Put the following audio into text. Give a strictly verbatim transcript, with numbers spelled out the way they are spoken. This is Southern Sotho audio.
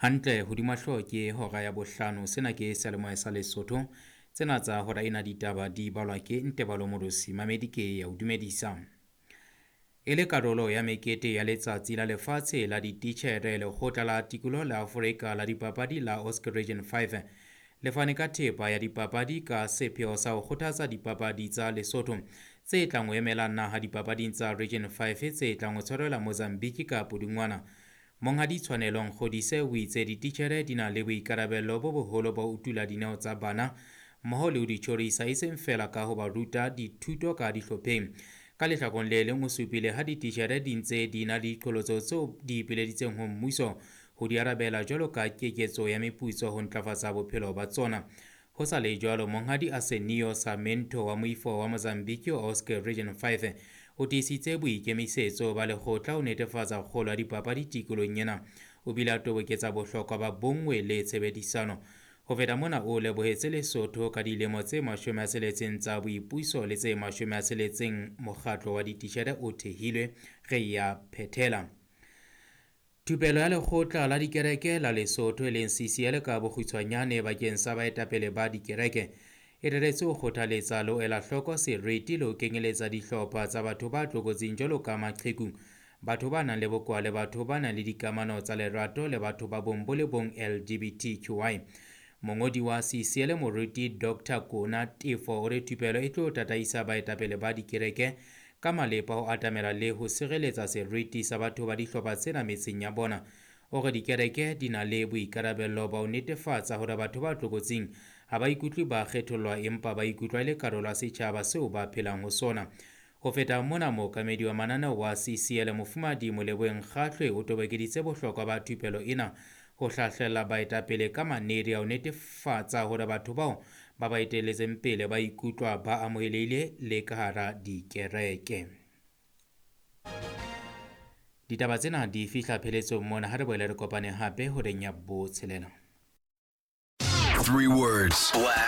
Hantle hodima hlooho ke hora ya bohlano. Sena ke seyalemoya sa Lesotho. Tsena tsa hora ena ditaba di balwa ke Ntebalo Morosi. Mamedi ke ya o dumedisa. E le karolo ya mekete ya Letsatsi la Lefatshe la Dititjhere, Lekgotla la Tikoloho la Afrika la Dipapadi la Oscar Region five le fane ka thepa ya dipapadi ka sepheo sa ho kgothatsa dipapadi tsa Lesotho tse tlang ho emela naha dipapading tsa Region five tse tlang ho tshwarelwa Mozambique ka Pudungwana. Monghadi Tshwanelo Nkgodise o itse dititjhere di na le boikarabello bo boholo ba ho utula dineo tsa bana mmoho le ho di tjhorisa e seng feela ka ho ba ruta dithuto ka dihlopheng. Ka lehlakoreng le leng o supile ha dititjhere di ntse di na le diqholotso tseo di ipileditseng ho mmuso ho di arabela jwalo ka keketso ya meputso ho ntlafatsa bophelo ba tsona. Ho sa le jwalo, Monghadi Arsenio Sarmento wa moifo wa Mozambique wa Oscar Region five o tiisitse boikemisetso ba lekgotla ho netefatsa kgolo ya dipapadi tikolohong ena. O bile a toboketsa bohlokwa ba bonngwe le tshebedisano. Ho feta mona o lebohetse Lesotho ka dilemo tse mashome a tsheletseng tsa boipuso le tse mashome a tsheletseng mokgatlo wa dititjhere o thehilwe re ya phethela. Thupelo ya lekgotla la dikereke la Lesotho e leng C C L ka bokgutshwanyane bakeng sa baetapele ba dikereke e reretswe ho kgothaletsa le ho ela hloko seriti le ho kenyeletsa dihlopha tsa batho ba tlokotsing jwalo ka maqheku, batho ba nang le bokowa le batho ba nang le dikamano tsa lerato le batho ba bong bo le bong L G B T Q I. Mongodi wa C C L Moruti Doctor Kona Tefo o re thupelo e tlo tataisa baetapele ba dikereke ka malepa ho atamela le ho sireletsa seriti sa batho ba dihlopha tsena metseng ya bona. O re dikereke di na le boikarabello ba ho netefatsa hore batho ba tlokotsing ha ba ikutlwe ba kgethollwa empa ba ikutlwa e le karolo ya setjhaba seo ba phelang ho sona. Ho feta mona, mookamedi wa mananeo wa C C L Mofumahadi Moleboheng Kgahlwe o tobokeditse bohlokwa ba thupelo ena ho hlahlella baetapele ka manedi a ho netefatsa hore batho bao ba ba etelletseng pele ba ikutlwa ba amohelehile le ka hara dikereke. Ditaba tsena di fihla pheletsong mona, ha re boele re kopane hape horeng ya botshelela. Three words. Black.